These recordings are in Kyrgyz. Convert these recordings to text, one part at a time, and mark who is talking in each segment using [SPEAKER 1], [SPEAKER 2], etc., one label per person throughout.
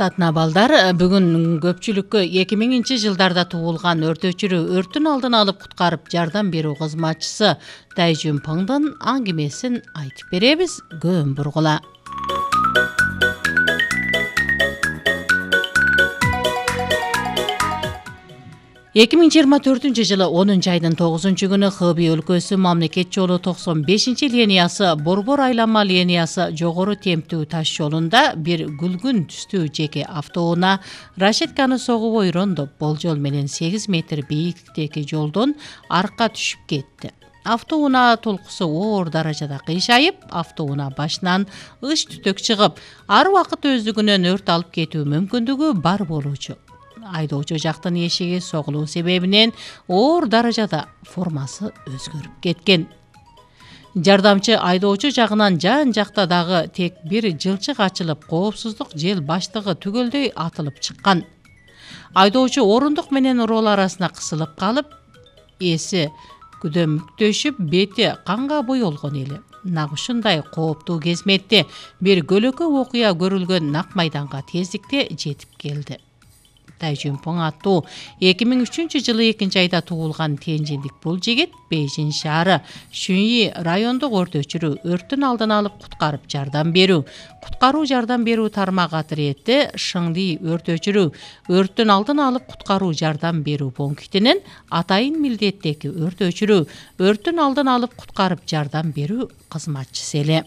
[SPEAKER 1] Урматтуу балдар, бүгүн көпчүлүккө 2000-жылдарда туулган өртөөчүрү өрттүн алдын алып куткарып жардам берүү кызматчысы Дайжун Пыңдын аңгемесин айтып беребиз. Көөн бургула. 2024-жылы 10-айдын 9-күнү Хыбый өлкөсү мамлекет жолу 95-линиясы Борбор айланма линиясы жогору темптүү таш жолунда бир күлгүн түстүү жеке автоунаа рашетканы согуп ойрондоп, болжол менен 8 метр бийиктиктеги жолдон арка түшүп кетти. Автоунаа толкусу оор даражада кыйшайып, автоунаа башынан ыш түтөк чыгып, ар убакыт өздүгүнөн өрт алып кетүү мүмкүндүгү бар болуучу. Айдоочу жактын эшиги согулуу себебинен оор даражада формасы өзгөрүп кеткен. Жардамчы айдоочу жагынан жан-жакта дагы тек бир жылчык ачылып, коопсуздук жел баштыгы түгөлдөй атылып чыккан. Айдоочу орундук менен рол арасына кысылып калып, эси күдөмүктөшүп, бети канга боелгон эле. Нак ушундай кооптуу кезметте бир көлөкө окуя көрүлгөн нак майданга тездикте жетип келди. Дайжун Пың аттуу 2003-жылы 2-айда туулган тенжиндик бул жигит Бейжин шаары Шүньи райондук өртөөчүрү өрттүн алдын алып куткарып жардам берүү, куткаруу жардам берүү тармак атырети Шыңди өртөөчүрү өрттүн алдын алып куткаруу жардам берүү пунктинин атайын милдеттеги өртөөчүрү өрттүн алдын алып куткарып жардам берүү кызматчысы эле.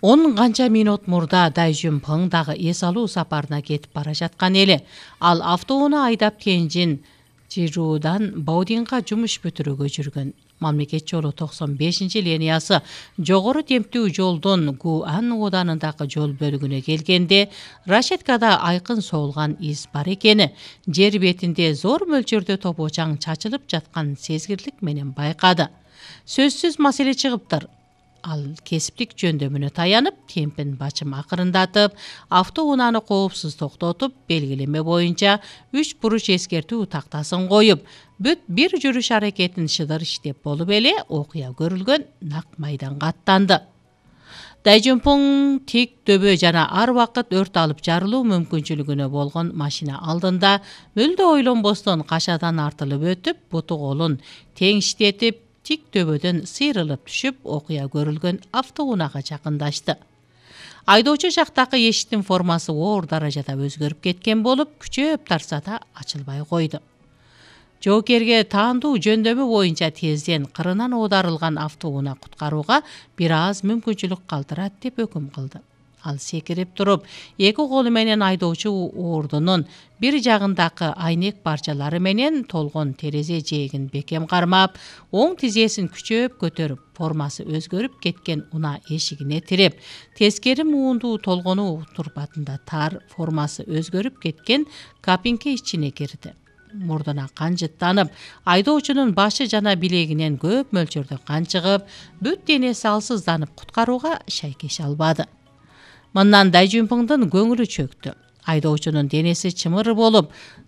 [SPEAKER 1] Он канча минут мурда Дайжун Пың дагы эс алуу сапарына кетип бара жаткан эле. Ал автоунаа айдап Тенжин Чжирудан Баодинга жумуш бүтүрүүгө жүргөн. Мамлекет жолу 95-линиясы жогору темптүү жолдон Гуан оданындагы жол бөлүгүнө келгенде рашеткада айкын соолган из бар экени, жер бетинде зор мөлчөрдө топочаң чачылып жаткан сезгирлик менен байкады. Сөзсүз маселе чыгыптыр. Ал кесиптик жөндөмүнө таянып, темпин бачым акырындатып, автоунааны коопсуз токтотуп, белгилеме боюнча 3 буруч эскертүү тактасын коюп, бүт бир жүрүш аракетин шыдыр иштеп болуп эле окуя көрүлгөн нак майданга аттанды. Дайжун Пың тик дөбө жана ар убакыт өрт алып жарылуу мүмкүнчүлүгүнө болгон машина алдында мүлдө ойлонбостон кашадан артылып өтүп, буту колун теңиштетип, тик төбөдөн сыйрылып түшүп, окуя көрүлгөн автоунаага жакындашты. Айдоочу жактагы эшиктин формасы оор даражада өзгөрүп кеткен болуп, күчөп тарса да ачылбай койду. Жоокерге таандуу жөндөмү боюнча тезден кырынан оодарылган автоунаа куткарууга бир аз мүмкүнчүлүк калтырат деп өкүм кылды. Ал секирип туруп, эки колу менен айдоочу ордунун бир жагындагы айнек парчалары менен толгон терезе жээгин бекем кармап, оң тизесин күчөп көтөрүп, формасы өзгөрүп кеткен унаа эшигине тиреп, тескери муундуу толгонуу турпатында тар, формасы өзгөрүп кеткен кабинке ичине кирди. Мурдуна кан жыттанып, айдоочунун башы жана билегинен көп мөлчөрдө кан чыгып, бүт денеси алсызданып куткарууга шайкеше албады. Мындан Дайжун Пыңдын көңүлү чөктү. Айдоочунун денеси чымыр болуп,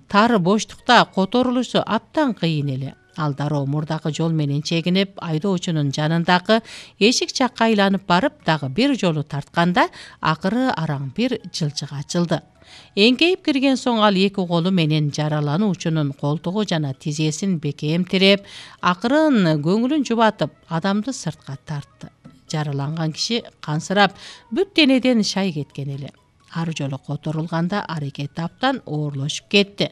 [SPEAKER 1] тар боштукта которулушу аптан кыйын эле. Ал дароо мурдагы жол менен чегинип, айдоочунун жанындагы эшик жакка айланып барып, дагы бир жолу тартканда, акыры араң бир жылчык ачылды. Эңкейип кирген соң ал эки колу менен жаралануучунун колтугу жана тизесин бекем тиреп, акырын көңүлүн жубатып, адамды сыртка тартты. Жараланган киши кансырап, бүт денеден шай кеткен эле. Ар жолу которулганда аракет аптан оорлошуп кетти.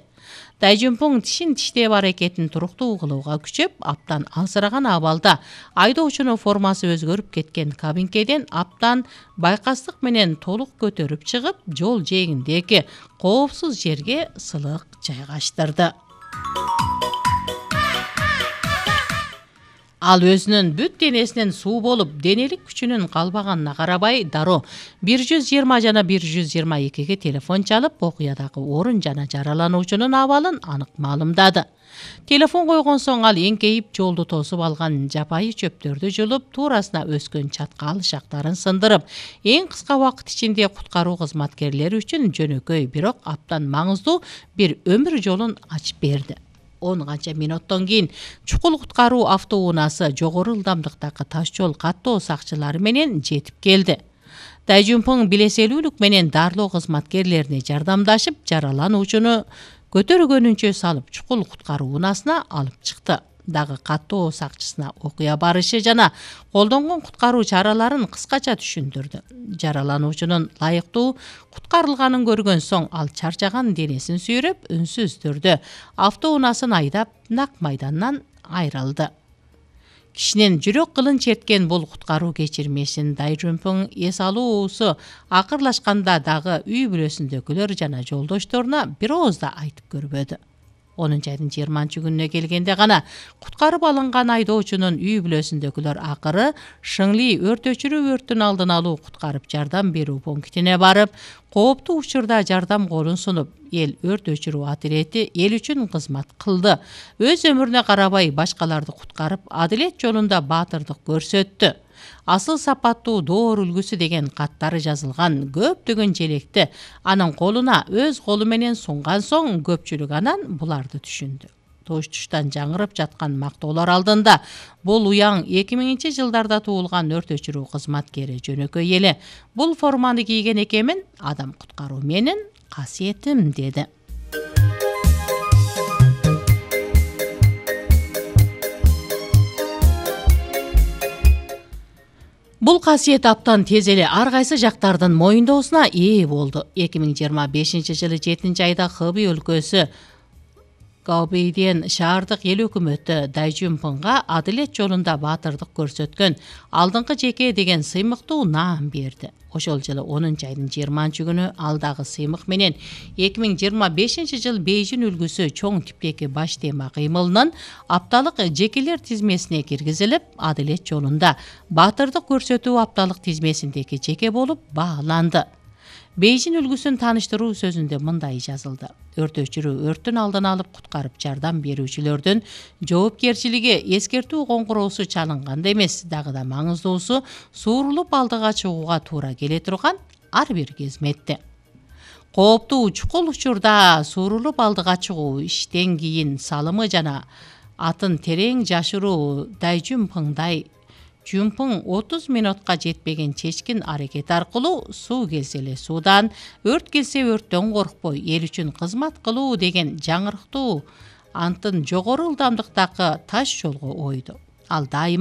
[SPEAKER 1] Дайжун Пың тишин тиштеп аракетин туруктуу кылууга күчөп, аптан алсыраган абалда айдоочунун формасы өзгөрүп кеткен кабинкеден аптан байкастык менен толук көтөрүп чыгып, жол жээгиндеги коопсуз жерге сылык жайгаштырды. Ал өзүнүн бүт денесинен суу болуп, денелик күчүнүн калбаганына карабай, дароо 120 жана 122ге телефон чалып, окуядагы орун жана жаралануучунун абалын анык маалымдады. Телефон койгон соң ал эңкейип жолду тосуп алган жапайы чөптөрдү жулуп, туурасына өскөн чаткал шактарын сындырып, эң кыска убакыт ичинде куткаруу кызматкерлери үчүн жөнөкөй, бирок аптан маңыздуу бир өмүр жолун ачып берди. 10 канча мүнөттөн кийин чукул куткаруу автоунаасы жогору ылдамдыктагы таш жол каттоо сакчылары менен жетип келди. Дайжунпың билеселүүлүк менен дарылоо кызматкерлерине жардамдашып, жаралануучуну көтөргөнүнчө салып чукул куткаруу унаасына алып чыкты. Дагы каттоо сакчысына окуя барышы жана колдонгон куткаруу чараларын кыскача түшүндүрдү. Жаралануучунун лайыктуу куткарылганын көргөн соң ал чарчаган денесин сүйрөп, үнсүз түрдө автоунаасын айдап нак майдандан айрылды. Кишинин жүрөк кылын черткен бул куткаруу кечирмесин Дайжунпың эс алуусу акырлашканда дагы үй бүлөсүндөгүлөр жана жолдошторуна бир ооз да айтып көрбөдү. 10 айдын 20-күнүнө келгенде гана куткарып алынган айдоочунун үй бүлөсүндөгүлөр акыры Шыңли өрт өчүрүү өрттүн алдын алуу куткарып жардам берүү пунктине барып, кооптуу учурда жардам колун сунуп, эл өрт өчүрүү отряди эл үчүн кызмат кылды. Өз өмүрүнө карабай башкаларды куткарып, адилет жолунда баатырдык көрсөттү. Асыл сапаттуу доор үлгүсү деген каттары жазылган көптөгөн желекти анын колуна өз колу менен сунган соң көпчүлүк анан буларды түшүндү. Тош-туштан жаңырып жаткан мактоолор алдында бул уяң 2000-жылдарда туулган өрт өчүрүү кызматкери жөнөкөй эле бул форманы кийген экенмин, адам куткаруу менин касиетим деди. Бул касиет аптан тез эле ар кайсы жактардын моюндоосуна ээ болду. 2025-жылы 7-айда Хэби өлкөсү Гаобэйден шаардык эл өкмөтү Дайжунпыңга адилет жолунда баатырдык көрсөткөн алдыңкы жеке деген сыймыктуу наам берди. Ошол жылы 10-айдын 20-күнү ал дагы сыймык менен 2025-жыл Бейжин үлгүсү чоң типтеги баш тема кыймылынын апталык жекелер тизмесине киргизилип, адилет жолунда баатырдык көрсөтүү апталык тизмесиндеги жеке болуп бааланды. Бейжин үлгүсүн тааныштыруу сөзүндө мындай жазылды: өрт өчүрүү өрттүн алдын алып куткарып жардам берүүчүлөрдүн жоопкерчилиги эскертүү коңгуроосу чалынганда эмес, дагы да маңыздуусу суурулуп алдыга чыгууга туура келе турган ар бир кызметте. Кооптуу чукул учурда суурулуп алдыга чыгуу, иштен кийин салымы жана атын терең жашыруу Дайжунпыңдай Жунпың 30 минутка жетпеген чечкин аракет аркылуу суу келсе эле суудан, өрт келсе өрттөн коркпой эл үчүн кызмат кылуу деген жаңырыктуу антын жогору ылдамдыктагы таш жолго ойду. Ал дайыма